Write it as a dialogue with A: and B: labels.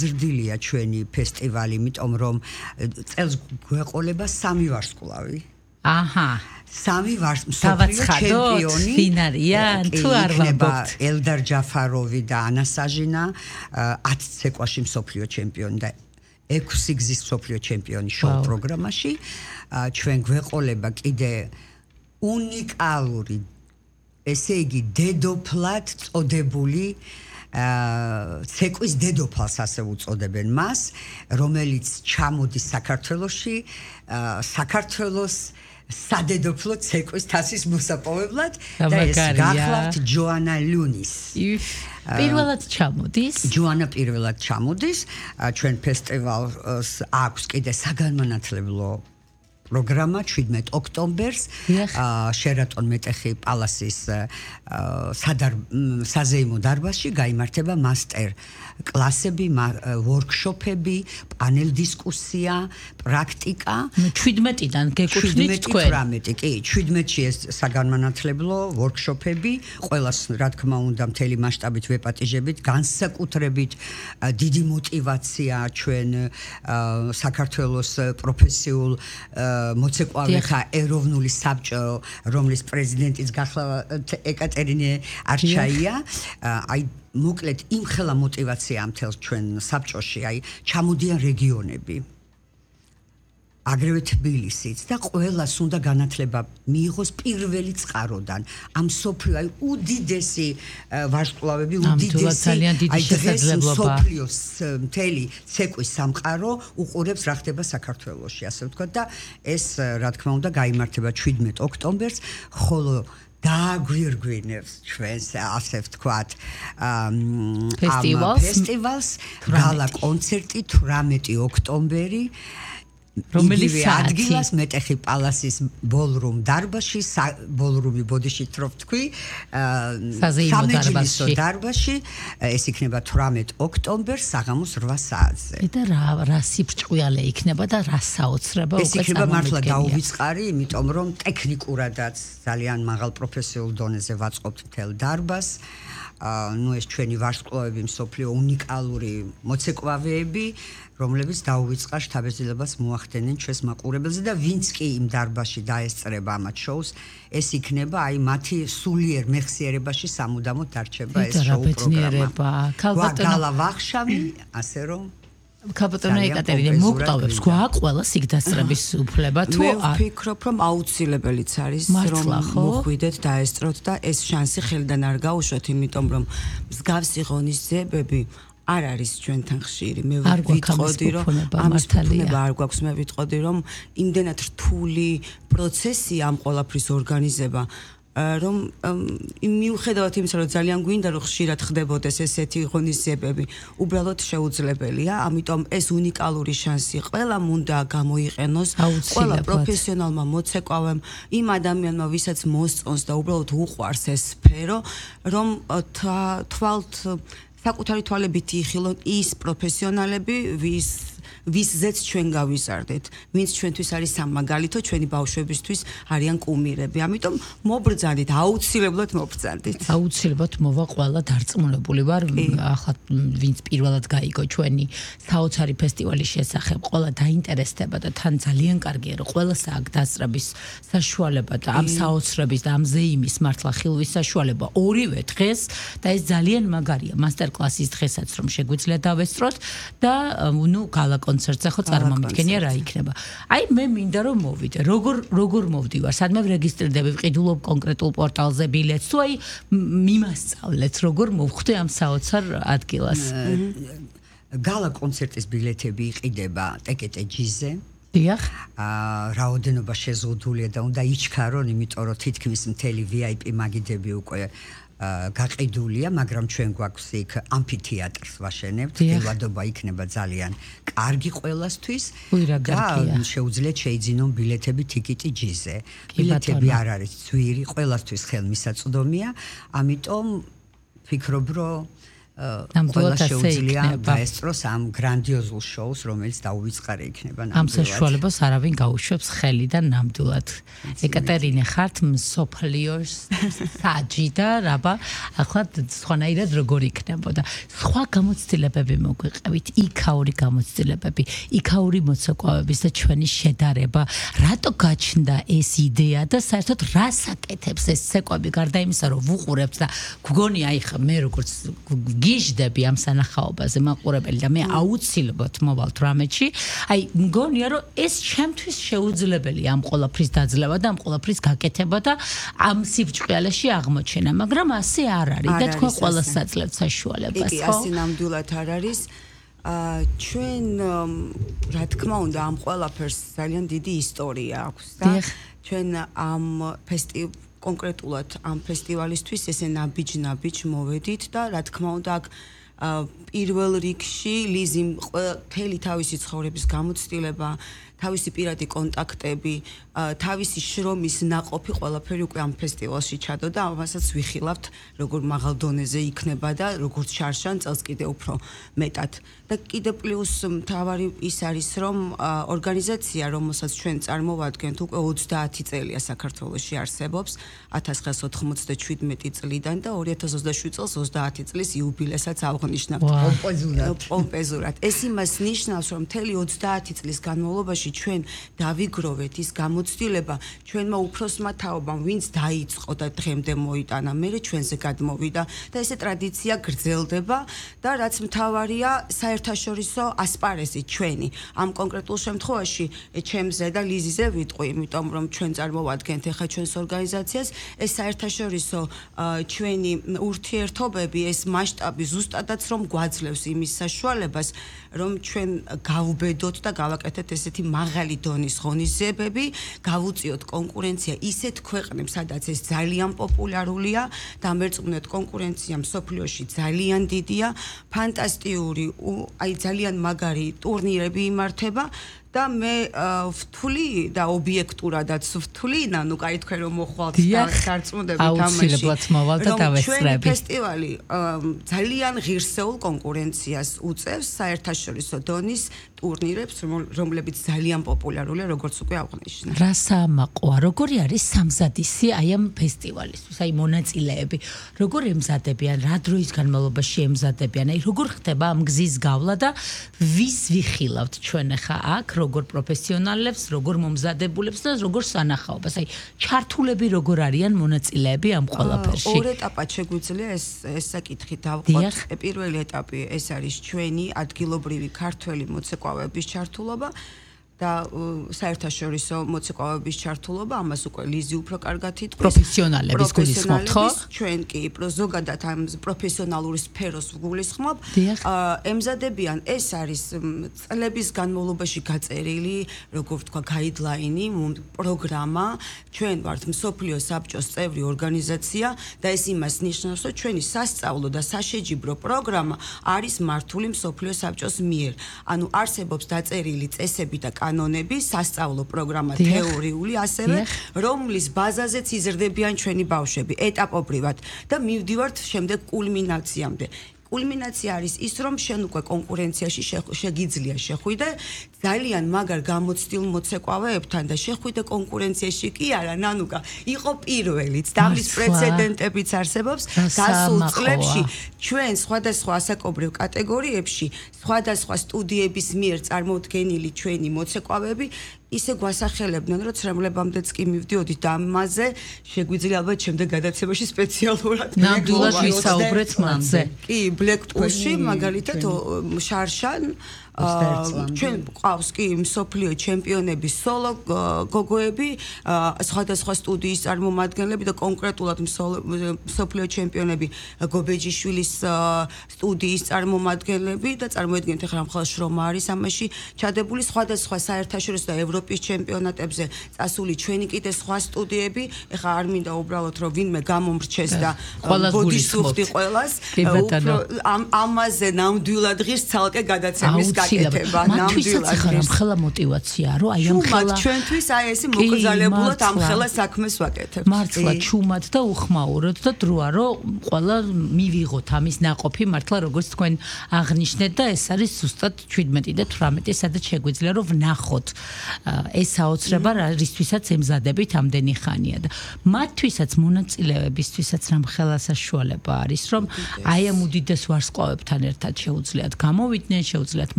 A: გაზრდილია ჩვენი ფესტივალი, იმიტომ რომ წელს გვეყოლება 3 ვარსკვლავი.
B: აჰა.
A: 3 მსოფლიო ჩემპიონი
B: ფინალიან თუ არ ვამბობთ.
A: ელდარ ჯაფაროვი და ანა საჟინა 10 ცეკვაში მსოფლიო ჩემპიონი და 6 გზის მსოფლიო ჩემპიონი შოუ პროგრამაში. ჩვენ გვეყოლება კიდე უნიკალური, ესე იგი დედოფლად წოდებული ცეკვის დედოფალს ასე უწოდებენ მას, რომელიც ჩამოდის საქართველოში, საქართველოს სადედოფლო ცეკვის თასის მოსაპოვებლად და ეს გახლავთ ჯოანა ლუნის.
B: პირველად ჩამოდის.
A: ჯოანა პირველად ჩამოდის. ჩვენ ფესტივალს აქვს კიდე საგანმანათლებლო პროგრამა 17 ოქტომბერს შერატონ მეტეხი პალასის საზეიმო დარბაზში გაიმართება მასტერ კლასები, ვორქშოპები, პანელ დისკუსია, პრაქტიკა.
B: 17-დან გეკუთვნით თქვენ.
A: 18 კი, 17-ში ეს საგანმანათლებლო ვორქშოპები, ყველას რა თქმა უნდა მთელი მასშტაბით ვეპატიჟებით, განსაკუთრებით დიდი мотиваცია ჩვენ საქართველოს პროფესიულ მოცეკვავეთა ეროვნული საბჭო, რომლის პრეზიდენტიც გახლავთ ეკატერინე არჩაია, აი მოკლედ იმხელა мотиваცია მთელ ჩვენ საბჭოში, აი ჩამოდიან რეგიონები. აგრეთვე თბილისიც და ყველას უნდა განათლება მიიღოს პირველი წყაროდან. ამ სოფლიო აი უდიდესი ვარსკვლავები, უდიდესი აი დღეს სოფლიოს მთელი ცეკვის სამყარო უყურებს რა ხდება საქართველოში, ასე ვთქვათ და ეს რა თქმა უნდა გაიმართება 17 ოქტომბერს, ხოლო დააგვირგვინებს ჩვენს ასე ვთქვათ ფესტივალს გალა კონცერტი 18 ოქტომბერი
B: რომელიც
A: ადგილას მეტეხი პალასის ბოლრუმ დარბაზში, ბოლრუმი ბოდიშით რო ვთქვი, სამეჯლისო დარბაზში, ეს იქნება 18 ოქტომბერს საღამოს 8 საათზე.
B: და რა სიბრჭყვიალე იქნება და რა საოცრება უკვე
A: ეს იქნება მართლა დაუვიწყარი, იმიტომ რომ ტექნიკურადაც ძალიან მაღალ პროფესიულ დონეზე ვაწყობთ მთელ დარბაზს. ნუ ეს ჩვენი ვარსკვლავები მსოფლიო უნიკალური მოცეკვავეები, რომლებიც დაუვიწყარ შთაბეჭდილებას მოახდენენ ჩვენს მაყურებელზე და ვინც კი იმ დარბაზში დაესწრება ამათ შოუს, ეს იქნება აი მათი სულიერ მეხსიერებაში სამუდამოდ დარჩება ეს შოუ პროგრამა. გალა ვახშამი, ასე რომ
B: ქალბატონო ეკატერინე მოგტავებს გვაქვს ყველა სიგდასწრების უფლება თუ
C: არ? მე ვფიქრობ რომ აუცილებელიც არის რომ მოხვიდეთ დაესწროთ და ეს შანსი ხელიდან არ გაუშვათ, იმიტომ რომ მსგავსი ღონისძიებები არ არის ჩვენთან ხშირი. მე ვიტყოდი რომ ამის ფუფუნება არ გვაქვს, მე ვიტყოდი რომ იმდენად რთული პროცესია ამ ყველაფრის ორგანიზება, რომ მიუხედავად იმისა, რომ ძალიან გვინდა რომ ხშირად ხდებოდეს ესეთი ღონისძიებები, უბრალოდ შეუძლებელია, ამიტომ ეს უნიკალური შანსი ყველამ უნდა გამოიყენოს, ყველა პროფესიონალმა მოცეკვავემ, იმ ადამიანმა, ვისაც მოსწონს და უბრალოდ უყვარს ეს სფერო, რომ თვალთ საკუთარი თვალებით იხილონ ის პროფესიონალები, ვისზეც ჩვენ გავიზარდეთ, ვინც ჩვენთვის არის სამაგალითო, ჩვენი ბავშვებისთვის არიან კუმირები. ამიტომ მობრძანდით, აუცილებლად მობრძანდით.
B: აუცილებლად მოვა ყველა დარწმუნებული ვარ, ახლა ვინც პირველად გაიგო ჩვენი საოცარი ფესტივალის შესახებ, ყველა დაინტერესდება და თან ძალიან კარგია, რომ ყველას აქვს დასწრების საშუალება და ამ საოცრების და ამ ზეიმის მართლა ხილვის საშუალება ორივე დღეს და ეს ძალიან მაგარია მასტერკლასის დღესაც რომ შეგვიძლია დავესწროთ და ნუ გალა კონცერტზე ხო წარმომიდგენია რა იქნება. აი მე მინდა რომ მოვიდე. როგორ მოვდივარ? სადმე რეგისტრირდები, ვყიდულობ კონკრეტულ პორტალზე ბილეთს თუ აი მიმასწავლეთ როგორ მოვხვდე ამ საოცარ ადგილას.
A: გალა კონცერტის ბილეთები იყიდება ტეკეტეჯიზე.
B: დიახ.
A: რაოდენობა შეზღუდულია და უნდა იჩქარონ, იმიტომ რომ თითქმის მთელი VIP მაგიდები უკვე გაყიდულია, მაგრამ ჩვენ გვაქვს იქ ამფითეატრს ვაშენებთ, ელვადობა იქნება ძალიან კარგი ყველასთვის და შეუძლიათ შეიძინონ ბილეთები ტიკეტი ჯიზე. ბილეთები არ არის ძვირი, ყველასთვის ხელმისაწვდომია, ამიტომ ფიქრობ, რომ ყველა შეუძლია დაესწროს ამ გრანდიოზულ შოუს, რომელიც დაუვიწყარი იქნება ნამდვილად.
B: ამ საშუალებას არავინ გაუშვებს ხელი და ნამდვილად. ეკატერინე ხართ მსოფლიოს საჯი და რაბა, ახლა სხვანაირად როგორ იქნებოდა. სხვა გამოცდილებები მოგვიყევით, იქაური გამოცდილებები, იქაური მოცეკვავების და ჩვენი შედარება, რატო გაჩნდა ეს იდეა და საერთოდ რას აკეთებს ეს ცეკვები გარდა იმისა, რომ ვუყურებთ და გგონი აი ხა მე როგორც გიჟდები ამ სანახაობაზე მაყურებელი და მე აუცილებლად მოვალთ რამეში, აი მგონია რომ ეს ჩემთვის შეუძლებელი ამ ყოლაფრის დაძლევა და ამ ყოლაფრის გაკეთება და ამ სიბჭყალეში აღმოჩენა, მაგრამ ასე არ არის და თქვენ ყველას საძლევთ საშუალებას,
C: ხო? ასე ნამდვილად არ არის. ჩვენ რა თქმა უნდა ამ ყველაფერს ძალიან დიდი ისტორია აქვს და ჩვენ ამ კონკრეტულად ამ ფესტივალისთვის ესე ნაბიჯ მოვედით და რა თქმა უნდა აქ პირველ რიგში ლიზიმ მთელი თავისი ცხოვრების გამოცდილება, თავისი პირადი კონტაქტები, თავისი შრომის ნაყოფი ყველაფერი უკვე ამ ფესტივალში ჩადო და ამასაც ვიხილავთ, როგორ მაღალ დონეზე იქნება და როგორც შარშან წელს კიდე უფრო მეტად. და კიდე პლუს მთავარი ის არის, რომ ორგანიზაცია, რომელსაც ჩვენ წარმოვადგენთ, უკვე 30 წელია საქართველოში არსებობს, 1997 წლიდან და 2027 წელს 30 წლის იუბილესაც ავღნიშნავთ. პომპეზურად. ეს იმას ნიშნავს, რომ მთელი 30 წლის განმავლობაში ჩვენ დავიგროვეთ ის გამოცდილება ჩვენმა უფროსმა თაობამ, ვინც დაიწყო და დღემდე მოიტანა, მერე ჩვენზე გადმოვიდა და ესე ტრადიცია გრძელდება და რაც მთავარია, საერთაშორისო ასპარეზი ჩვენი. ამ კონკრეტულ შემთხვევაში ჩემზე და ლიზიზე ვიტყვი, იმიტომ რომ ჩვენ წარმოვადგენთ ახლა ჩვენს ორგანიზაციას, ეს საერთაშორისო ჩვენი ურთიერთობები, ეს მასშტაბი ზუსტადაც რომ გვაძლევს იმის საშუალებას, რომ ჩვენ გავუბედოთ და გავაკეთეთ ესეთი მაღალი დონის ღონისძიებები, გავუწიოთ კონკურენცია ისეთ ქვეყნებს, სადაც ეს ძალიან პოპულარულია და მერწმუნეთ კონკურენცია მსოფლიოში ძალიან დიდია, ფანტასტიკური, აი ძალიან მაგარი ტურნირები იმართება და მე ვთვლი და ობიექტურადაც ვთვლი, ნუ კაი თქვენ რომ მოხვალთ დარწმუნდებით ამაში.
B: აუცილებლად მოვალ და დავესწრები.
C: ჩვენი ფესტივალი ძალიან ღირსეულ კონკურენციას უწევს საერთაშორისო დონის ტურნირებს, რომლებიც ძალიან პოპულარულია, როგორც უკვე აღვნიშნე.
B: რა საამაყოა, როგორი არის სამზადისი აი ამ ფესტივალისთვის, აი მონაწილეები, როგორ ემზადებიან, რა დროის განმავლობაში ემზადებიან, აი როგორ ხდება ამ გზის გავლა და ვის ვიხილავთ ჩვენ ახლა აქ, როგორ პროფესიონალებს, როგორ მომზადებულებს და როგორ სანახაობას, აი ჩართულები როგორ არიან მონაწილეები ამ ყველაფერში.
C: ორ ეტაპად შეგვიძლია ეს საკითხი დავყვათ. პირველი ეტაპი ეს არის ჩვენი ადგილობრივი ქართველი მოცეკვავების ჩართულობა და საერთაშორისო მოცეკვავების ჩართულობა, ამას უკვე ლიზი უფრო კარგად იტყვის.
B: პროფესიონალების გულისხმობთ, ხო?
C: ჩვენ კი ზოგადად ამ პროფესიონალური სფეროს ვგულისხმობ. ემზადებიან, ეს არის წლების განმავლობაში გაწერილი, როგორ ვთქვა, გაიდლაინი, პროგრამა. ჩვენ ვართ მსოფლიო საბჭოს წევრი ორგანიზაცია და ეს იმას ნიშნავს, რომ ჩვენი სასწავლო და საშეჯიბრო პროგრამა არის მართული მსოფლიო საბჭოს მიერ. ანუ არსებობს დაწერილი წესები და კანონები, სასწავლო პროგრამა თეორიული ასევე, რომლის ბაზაზეც იზრდებიან ჩვენი ბავშვები ეტაპობრივად და მივდივართ შემდეგ კულმინაციამდე. კულმინაცია არის ის, რომ შენ უკვე კონკურენციაში შეგიძლია შეხვიდე ძალიან მაგარ გამოცდილ მოცეკვავეებთან და შეხვიდე კონკურენციაში კი არა, ნანუკა, იყო პირველიც და ამის პრეცედენტებიც არსებობს გასულ წლებში ჩვენ სხვადასხვა ასაკობრივ კატეგორიებში, სხვადასხვა სტუდიების მიერ წარმოდგენილი ჩვენი მოცეკვავეები ისე გვასახელებდნენ, რომ ცრემლებამდეც კი მივდიოდით და ამაზე შეგვიძლია ალბათ შემდეგ გადაცემაში სპეციალურად
B: ნამდვილად ვისაუბრეთ მასზე.
C: კი, ბლეკპულში მაგალითად შარშან ჩვენ ყავს კი მსოფლიო ჩემპიონები, სოლო გოგოები, სხვადასხვა სტუდიის წარმომადგენლები და კონკრეტულად მსოფლიო ჩემპიონები გობეჯიშვილის სტუდიის წარმომადგენლები და წარმოედგინეთ ახლა მხოლოდ შრომა არის ამაში ჩადებული, სხვადასხვა საერთაშორისო და ევროპის ჩემპიონატებზე წასული ჩვენი კიდე სხვა სტუდიები, ახლა არ მინდა უბრალოდ რომ ვინმე გამომრჩეს და ბოდიშს უხდი ყველას, ამაზე ნამდვილად ღირს ცალკე გადაცემის გაკეთება
B: ნამდვილად ხელა мотиваცია რომ აი ამ ხელა
C: ჩვენთვის აი ესე მოკრძალებულად ამ ხელა საქმეს ვაკეთებთ
B: მართლა ჩუმად და უხმაუროთ და დროა რომ ყველა მივიღოთ ამის ناقოფი მართლა როგორც თქვენ აღნიშნეთ და ეს არის ზუსტად 17 და 18 სადაც შეგვიძლია რომ ვნახოთ ეს საოცრება რისთვისაც ემზადებით ამდენი ხანია და მათთვისაც მონაწილეებისთვისაც რამ ხელასაშუალება არის რომ აი ამ უდიდეს ვარსკვლავებთან ერთად შეუძლიათ გამოვიდნენ შეუძლიათ